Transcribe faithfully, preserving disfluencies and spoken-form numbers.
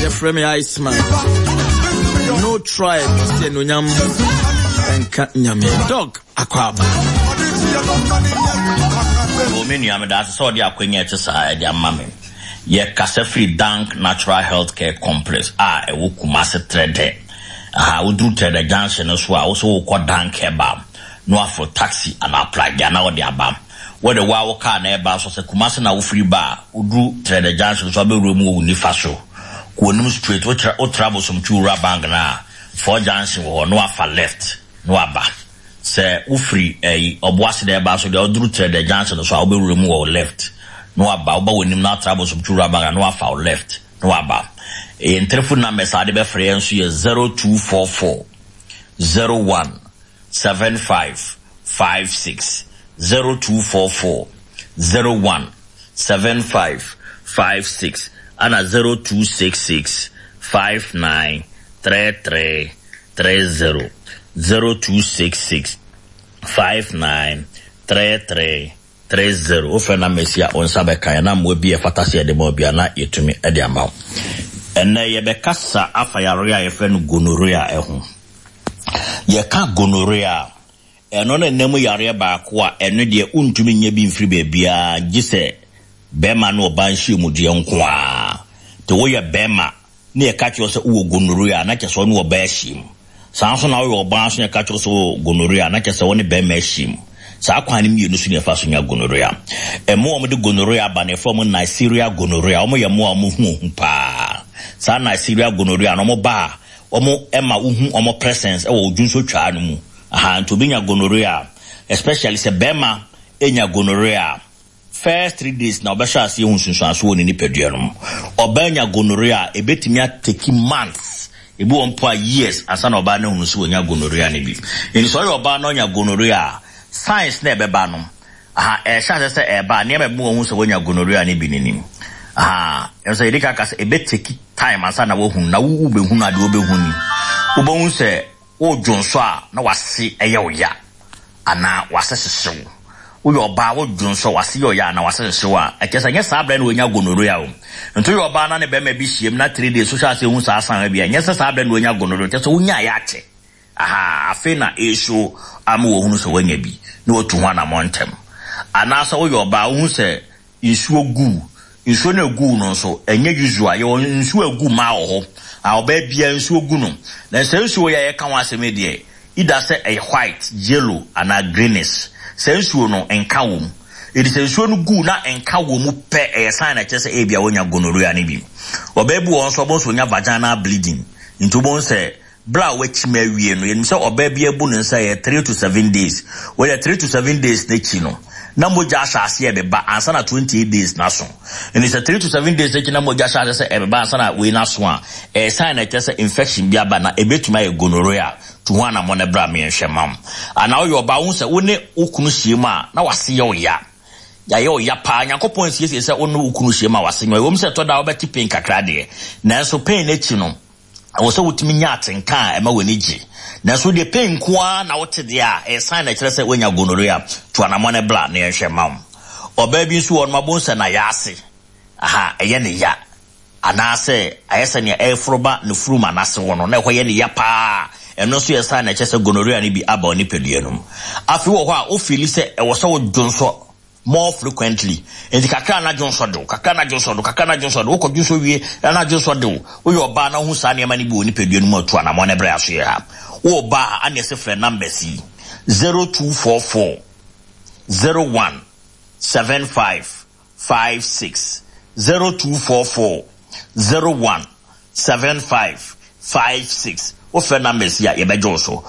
Yɛfrɛ me Iceman. No tribe sɛ anuonyam ɛnka Nyame. Doc, akwaaba. O, me nua, meda ase sɛ ɔde akwanya ɛte saa ɛde ama me. Yɛkasa firi Dank Natural Health Care Complex a ɛwɔ Kumase Trɛdɛ. Aha woduru Trɛdɛ Junction no so a, wo sɛ wokɔ Dank Herbal na waforo taxi anaa pragya na wɔde aba. Wɔde wo a wo car na ɛba so sɛ Kumase na wofiri ba a, woduru Trɛdɛ Junction so, abɛwura mu wɔ wo nifa so, kɔ anim straight, wotra wotra Bosomtwi Wura Bank na four junction wɔ hɔ na wafa left na waba. Sɛ wofiri ɛyi Ɔboase na ɛba so deɛ, woduru Trɛdɛ Junction so a, wobɛwura mu wɔ wo left na waba. Woba w'anim na atra Bosomtwi Wura Bank na wafa wo left na waba. Ɛyɛ telephone numbers a wode bɛfrɛ yɛn nso yɛ zero two four four zero one seven five five six, zero two four four zero one seven five five six, ana zero two six six five nine three three three zero, zero two six six five nine three three three zero. Wofrɛ na mesi a, wo nsa bɛka yɛ na mmoa bi a ɛfata sɛ yɛde ma obi a na yɛtumi de ama wo. Ɛnnɛ yɛbɛkasa afa yare a yɛfrɛ no gonorrhea ɛho. Yɛka gonorrhea a, ɛno ne nam yareɛ baako a ɛno deɛ wontumi nyɛ bi mfiri baabiara gye sɛ bɛrima ne ɔbaa nhyiamudeɛ nko a. Nti woyɛ bɛrima ne yɛka kyerɛ sɛ wowɔ gonorrhea, na kyerɛ sɛ wo ne ɔbaa ahyiam. Saa nso na woyɛ ɔbaa nso, yɛka kyerɛ sɛ wowɔ gonorrhea, na kyerɛ sɛ wo ne bɛrima ahyiam. Saa kwan no mmienu so ne yɛfa so nya gonorrhea. Ɛmo a wɔde gonorrhea aba no, yɛfrɛ wɔn Neisseria gonorrhea. Wɔn yɛ mmoa a wɔn ho ohu paa. Saa Neisseria gonorrhea no, wɔn ba a, wɔn ma wohu wɔn presence ɛwɔ odwonsotwaa no mu. Aha nti obi nya gonorrhea, especially sɛ bɛrima enya gonorrhea, first three days na ɔbɛhyɛ ase ehu nsunsuanso wɔ ne nipadua no mu. Ɔbaa nya gonorrhea, ebetumi atake months, ebi wɔ mpo a years, ansa na ɔbaa no ehunu sɛ wɔnya gonorrhea no bi. Nti sɛ ɔyɛ ɔbaa na ɔnya gonorrhea, signs na ɛbɛba no aha, ɛhyɛ ase sɛ ɛba, nneɛma bi wɔn ho sɛ wɔnya gonorrhea no bi n'anim. Aha ɛsɛ yɛde kaka sɛ ɛbɛtake time ansa na wɔhunu, na wo wobɛhunu adeɛ wobɛhu ni, wobɛhu sɛ wodwo nso a na wase ɛyɛ wo ya anaa wase hyehyew. Woyɛ ɔbaa, wodwo nso wase yɛ ɔya anaa wase hyehyew a, ɛkyɛ sɛ nyɛ saa berɛ na wɔnya gonorrhea o. Nti woyɛ ɔbaa na ne bɛrima bi hyiam na three days so hyɛ ase hu saa san bi a, nyɛ sɛ saa berɛ na wɔnya gonorrhea. Kyɛ sɛ wonya ayɛ akyɛ. Aha afei na ɛso ama wɔhunu sɛ wɔanya bi na wɔtu ho anammɔ ntɛm. Anaasɛ woyɛ ɔbaa, wohu sɛ nsuo gu, nsuo no egu no nso ɛnyɛ usual. Yɛwɔ nsuo egu mmaa wɔ hɔ a, ɔbaa bia nsuo gu no, na sɛ nsuo yɛ a yɛka ho asɛm yi deɛ, ida sɛ ɛyɛ white, yellow anaa greenish. Sɛ nsuo no nka wɔ mu, ɛdi sɛ nsuo no gu na nka wɔ mu pɛ, ɛyɛ sign na kyerɛ sɛ ebi a wɔnya gonorrhea no bi. Ɔbaa bi wɔ hɔ nso, ɔbɛn nso ɔnya vaginal bleeding. Nti wɔn sɛ bere a wakyim awie no, yɛnim sɛ ɔbaa bi abu ne nsa yɛ three to seven days. Wɔyɛ three to seven days n'akyi no na mogya ahyɛ aseɛ ɛbɛba ansa na twenty eight days n'aso. Nti sɛ three to seven days n'akyi na mogya ahyɛ aseɛ sɛ ɛbɛba ansa na wei n'aso a, ɛyɛ sign na ɛkyerɛ sɛ infection bi aba na ebetumi ayɛ gonorrhea. Tu ho anammɔ no bra mmiɛnhwɛ mam. Anaa woyɛ ɔbaa, wo sɛ wo ne wo kunu hyia mu a na wase yɛ wo ya, yɛayɛ wo ya paa. Nyankopɔn nsiesie sɛ wo ne wo kunu hyia mu a wase nyɛ. Ɛwɔ mu sɛ ɛtɔ da a wobɛte pain kakra deɛ, nanso pain n'akyi no ɛwɔ sɛ wotumi nya atenka a ɛma w'ani gye. Nanso deɛ pain nko ara na wote deɛ a, ɛyɛ sign na ɛkyerɛ sɛ woanya gonorrhea. To anammɔ no bra na yɛnhwɛ ma wo. Ɔbaa bi nso wɔ no, mabɔ sɛ na yɛ ase aha ɛyɛ ne ya anaasɛ ayɛ sɛ nea ɛforo ba ne furum anase wɔ no na ɛhɔ yɛ ne ya paa, ɛno nso yɛ sign na ɛkyerɛ sɛ gonorrhea no bi aba wo nipadua no mu. Afei wɔ hɔ a wofeel sɛ ɛwɔ sɛ wodwo nso more frequently, nti kakra na dwo nsɔ de wo, kakra na dwo nsɔ de wo, kakra na dwo nsɔ de wo, wokɔ dwo nsɔ wie na dwo nsɔ de wo. Woyɛ ɔbaa na wohu saa nneɛma no bi wɔ nipadua no mu, atu anammɔ no brɛ aso yɛ ha. Wowɔ baa a, ane ɛsɛ frɛ numbers yi: zero two four four zero one seven five five six, zero two four four zero one seven five five six. Wofrɛ numbers yi a, yɛbɛgye wo so.